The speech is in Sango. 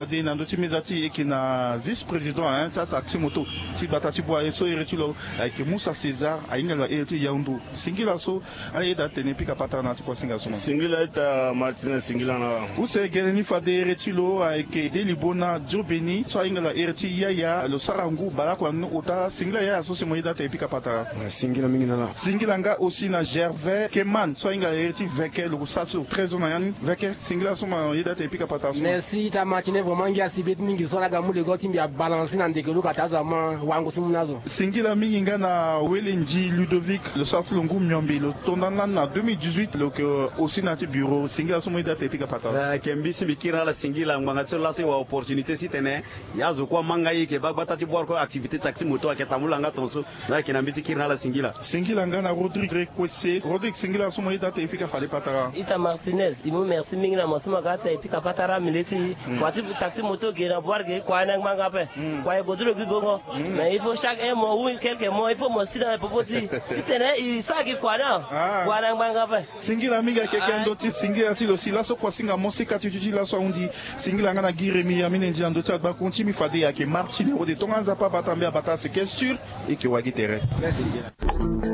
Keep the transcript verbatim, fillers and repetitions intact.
Fade na ndö ti meza ti e yeke na vice-président, hein, ti ataxi moto ti gbata ti Bouar, so ere ti lo ayeke Moussa César, ahinga lo na ere ti Yaoundou. Singila so ayeda atene pika patara na ya ti kuasinga so. Singila ita Martinez, singila na. Use gene ni fade ere ti lo ayeke Delibona Diobeni, so ahinga lo na ere ti Yaya, lo sara ngu baleoko na ni ota. Singila yaya so si mo yeda atene pika patara. Singila mingi na la. Singila nga aussi na Gervais Keman, so ahinga lo na ere ti Veke, lo sara so treize ans na ya ni. Veke, singila so mo yeda atene pika patara so. Merci ita Martinez, vraiment ngia si be ti mingi so ala ga mu lego ti mbi abalancer na ndeke luka ta azo ama wango so mu na azo. Singila mingi nga na Wele Ndi Ludovic, lo sara ti lo ngu miombe, lo tonda lani na deux mille dix-huit, lo yeke aussi na ya ti bureau. Singila so mo yeda atene pika patara. Eh, ayeke mbi si mbi kiri na ala singila ngbanga ti so laso e wara opportunité si tene e azo kue amanga e, e yeke baa gbata ti Bouar kue activité taxi moto ayeke tambula nga tongaso. Ayeke na mbi ti kiri na ala singila. Singila nga na Rodrigue Rekwese. Rodrigue, singila so mo yeda atene pika fade patara. Ita Martinez, e mu merci mingi na mo so mo ga atene pika patara mbi le ti kua ti taxi moto ge na Bouar ge, kua ni angbanga ape. Kua e gue ti lo gi gongo. Mais il faut chaque un mois ou quelques mois il faut mo si na popo ti e ti tene e sara gi kua ni. Kua ni angbanga ape. Singila mingi, ayeke keke ndö ti singila ti lo si laso kuasinga mo sika ti duti laso ahunzi. Singila nga na Guy Rémy Amine Ndi na ndö ti agbakun ti mbi fade ayeke Martine Rode. Tonga Nzapa abata mbi abata, c'est que sûr e yeke wagi tere. Merci.